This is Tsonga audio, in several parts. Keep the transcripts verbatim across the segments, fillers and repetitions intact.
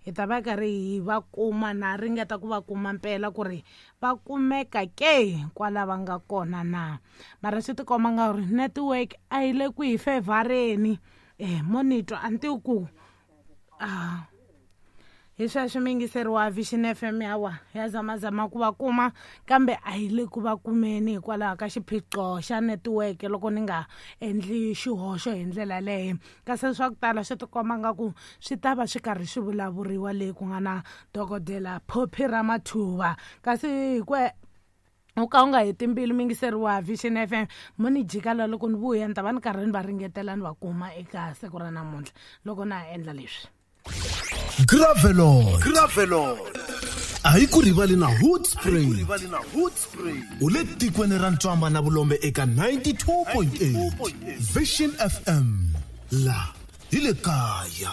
Hi ta va karhi hi va kuma na ringeta ku va kuma mpela ku ri va kumeka ke kwala va nga kona na. Mara swi tikomba nga ri network a yi le ku hi fevhareni. Eh mo ni twa a ni tivi ku ah hi sweswo miyingiseri wa Vision F M hawa ya zamazama ku va kuma kambe a yi le ku va kumeni hikwalaho ka xiphiqo xa netiweke loko ni nga endli xihoxo hi ndlela leyo. Kasi swa ku tala swi tikomba nga ku swi ta va swi karhi swi vulavuriwa leyi ku nga na dokodela Phophi Ramathuva. Kasi hi ku u ka u nga heti mbilu miyingiseri wa Vision F M, mo ni jika la loko ni vuya ni ta va ni karhi ni va ringetela ni va kuma eka siku ra namuntlha loko na ha endla leswi. Gravelon. Gravelon. A yi ku rivali na Hoedspruit. U le tikweni ra Ntswamba na Vulombe eka ninety-two point eight. Vision F M. La hi le kaya.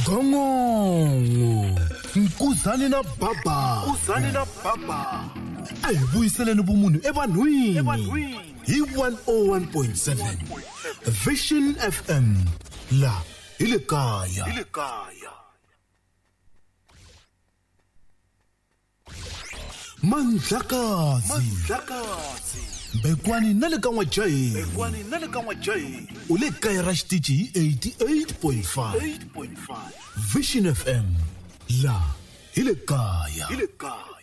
Gongongo. Nkuzani na baba. Nkuzani na baba. A hi vuyiseleni vumunhu evanhwini. Hi one oh one point seven. Vision F M. La hi le kaya. Hi le kaya. Mandlakazi. Mandlakazi. Bekwani na le ka N'wajahi. Bekwani na le ka N'wajahi. U le kaya ra xitichi hi eighty-eight point five. Vision F M. La hi le kaya. Hi le kaya.